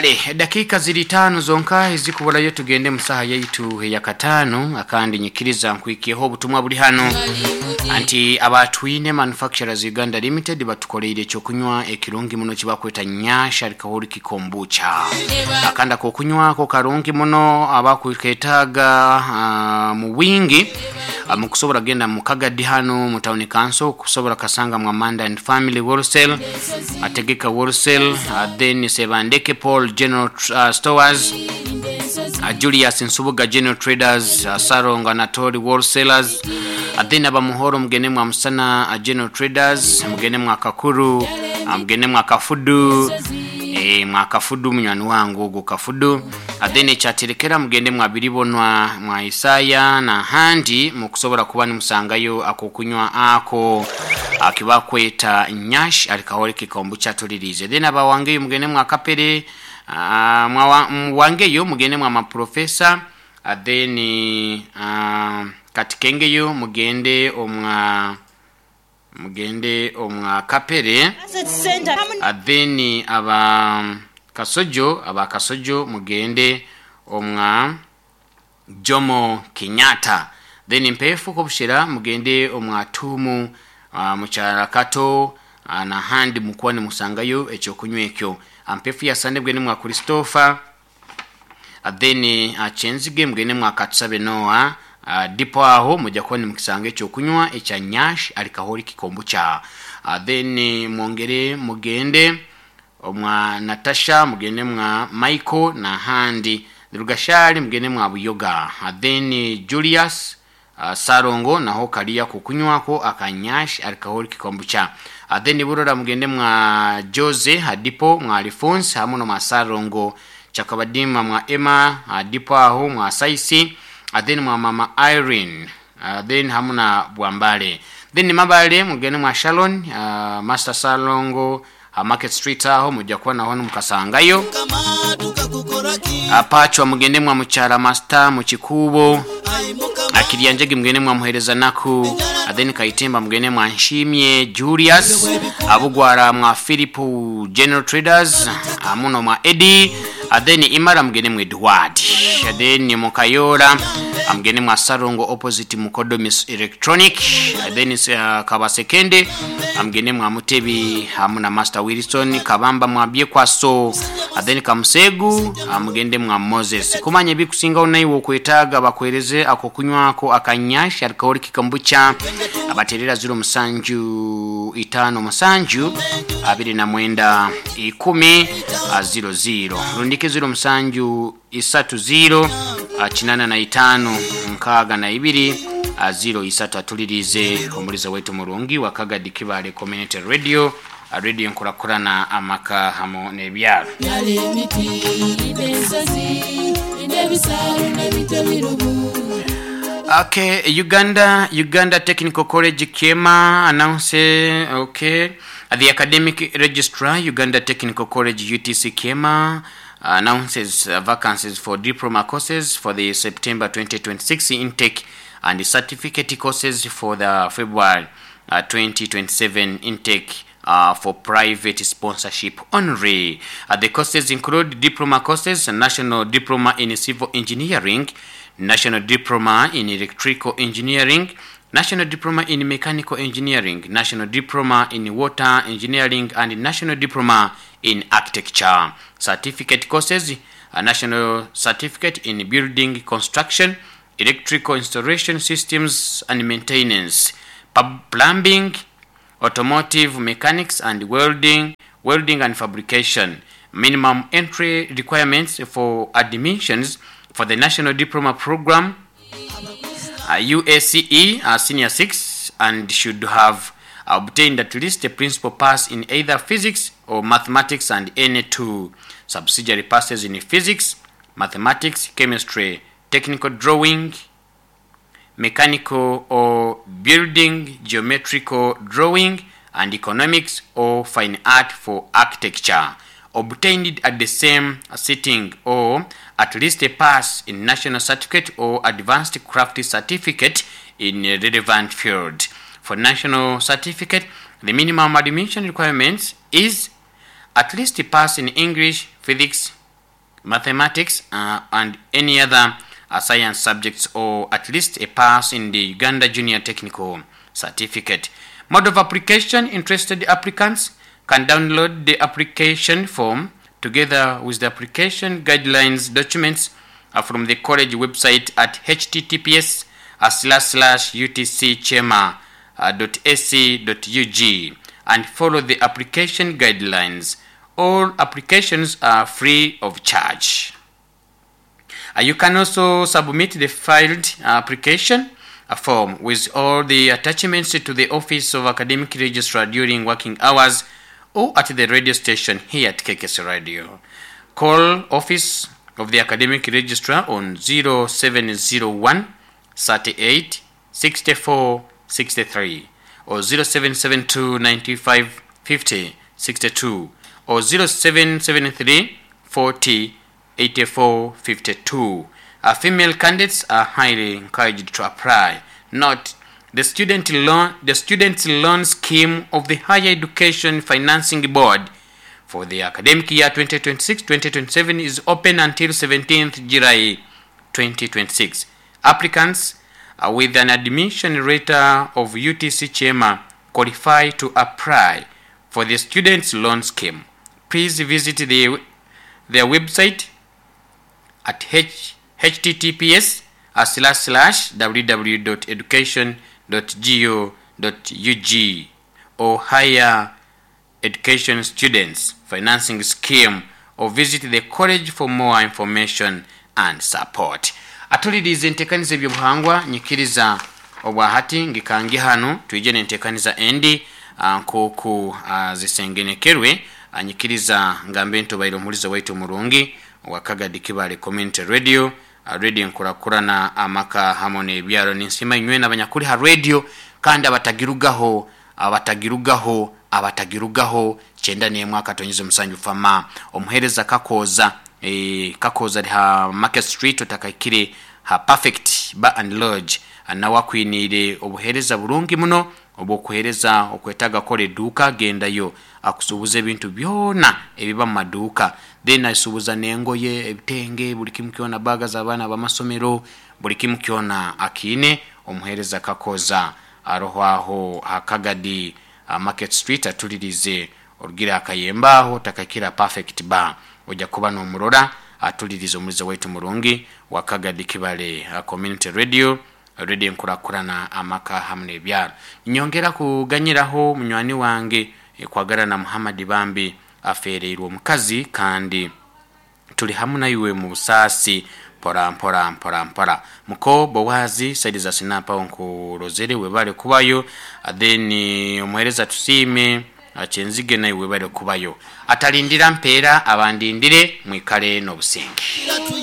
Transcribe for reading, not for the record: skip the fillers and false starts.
Kale edakiika ziri itaano zonka ezikuburayo tugende mu saaha yaitu eyakataano akandi nyikiriza nkwikyeho obutumwa buri hanu anti aba Twine Manufacturers Uganda Limited batukoreire ekyokunywa ekirungi muno ekibakweta Nyash Alcoholic Kombucha. Akandi akokunywa ako karungi muno abakwetaaga mu bwingi mukusobora kugenda mu Kagadi hanu mu Town Council kusobora kasanga mu Amanda and Family Wholesale, Ategeka Wholesale, then Sebandeke Paul General Stores, Julius Nsubuga General Traders, Sarongo Anatoli Wholesalers, then abamuhoro mugende mwa Musana General Traders, mugende mwa Kakuru, mugende mwa Kafudu, mwa Kafudu munywani wange ogwo Kafudu, then ekyaterekera mugende mwa Biribonwa, mwa Isaya nahandi mukusobora kuba nimusangayo akokunywa ako akibakweta Nyash Alcoholic Kombucha tulirize. Then abawangeyo mugende mwa Kapere, mwangeyo mugende mwa Maprofesa, then Katikengeyo mugende omwa mugende omwa Kapere, then aba Kasojo aba Kasojo mugende omwa Jomo Kenyatta, then Mpefu Kobushera mugende omwa Tumu, mukyala Kato nahandi mukuba nimusangayo ekyokunywa ekyo. Mpefu ya Sande mugende mwa Christopher, then Kyenzige mugende mwa Katusabe Noah, dipo aho mujja kuba nimukisanga ekyokunywa ekya Nyash Alcoholic Kombucha. Then mwongere mugende omwa Natasha, mugende mwa Michael nahandi Rugashali mugende mwa Buyoga, then Julius Sarongo naho kaliya kukunywako akanyash Alcoholic Kombucha. Then Burora mugende mwa Jose hadipo mwa Alphonse hamu no mwa Sarongo Chakabadima mwa Emma hadipo aho mwa Saisi, then mwa Mama Irene, then hamu na Bwambale. Then Mabale mugende mwa Shalon, Master Salongo Market Street aho mujja kuba naho mukasangayo. Apachwa mugende mwa Mukyala Master mu Kikuubo, Akiryanjege mugende mwa Muhereza Naku, then Kaitemba mugende mwa Nshimye Julius, Abugwara mwa Philip General Traders, amuno mwa Eddie, then Imara mugende mwa Edward, then Mukayora mugende mwa Sarongo opposite Mukodomis Electronic, then Kabasekende mugende mwa Mutebi hamu na Master Wilson, Kabamba mwa Byekwaso, then Kamusegu mugende mwa Moses. Kumanya ebikusingaho naiwe okwetaaga bakwereze akokunywako akanyash Alcoholic Kombucha, abaterera 07 57 29 10 00 rundike 07 30 85 62 03 atulirize omuliza wetu murungi wa Kagadi Kibale Community Radio, radio nkurakurana amaka hamo n'ebyaro. Okay, Uganda Technical College Kyema announce, okay, the academic registrar Uganda Technical College UTC Kyema announces vacancies for diploma courses for the September 2026 intake and certificate courses for the February 2027 intake for private sponsorship only. The courses include diploma courses, National Diploma in Civil Engineering, National Diploma in Electrical Engineering, National Diploma in Mechanical Engineering, National Diploma in Water Engineering, and National Diploma in Architecture. Certificate courses, a National Certificate in Building Construction, Electrical Installation Systems and Maintenance, Plumbing, Automotive Mechanics and Welding, Welding and Fabrication. Minimum entry requirements for admissions for the National Diploma Program, UACE Senior 6, and should have obtained at least a principal pass in either physics or mathematics and any two subsidiary passes in physics, mathematics, chemistry, technical drawing, mechanical or building, geometrical drawing, and economics or fine art for architecture, obtained at the same sitting, or at least a pass in national certificate or advanced craft certificate in a relevant field. For national certificate, the minimum admission requirements is at least a pass in English, physics, mathematics and any other science subjects or at least a pass in the Uganda Junior Technical Certificate. Mode of application interested applicants can download the application form together with the application guidelines documents from the college website at https slash slash utcchema dot ac dot ug and follow the application guidelines. All applications are free of charge. You can also submit the filed application form with all the attachments to the Office of Academic Registrar during working hours or at the radio station here at KKS Radio. Call Office of the Academic Registrar on 0701 38 64 63 or 0772 95 50 62 or 0773 40 84 52. Female candidates are highly encouraged to apply. Note, the student loan, the student loan scheme of the Higher Education Financing Board for the academic year 2026-2027 is open until 17th July 2026. Applicants with an admission letter of UTC Chema qualify to apply for the students loan scheme. Please visit the, their website at h, https slash slash www.education.go.ug or higher education students financing scheme or visit the college for more information and support. Atulirize entekaniza ebyobuhangwa nyikiriza obwahati ngikangi hanu twije nentekaniza endi nkoku zisengenekerwe anyikiriza ngambe ntubaire omuhuliza waitu omurungi wa Kagadi Kibale Community Radio radio enkurakurana amaka hamwe n'ebyaro ninsima inywe n'abanyakuri ha radio kandi abatagirugaho abatagirugaho abatagirugaho 91.7 fama omuhereza kakoza e, kakoza ali ha Market Street otakaikire ha Perfect Bar and Lodge nawe akwiniire obuhereza burungi muno obwokuhereza okwetaga kora eduuka gendayo akusuubuza ebintu byona ebiba mu maduuka then asuubuza n'engoye ebitenge buli kimu kyona baga z'abaana b'amasomero buli kimu kyona akiine omuhereza kakoza aroho aho hakagadi Market Street atulirize orugira akayemba aho takakira Perfect Bar ojja kuba n'omurora atulirize omulizo waitu murungi wa Kagadi Kibale Community Radio radio enkurakurana amaka hamwe n'ebyaro nyongera kuganyiraho munywani wange kwagarana Muhammad Bambi afereirwe omukazi kandi tuli hamu naiwe mu busaasi mpora mpora mpora mpora muko Bowazi saidi za sinapa nkurozere webale kubayo then omuhereza tusiime kyenzige naye webale kubayo atalindira mpeera abandindire mwikale n'obusinge.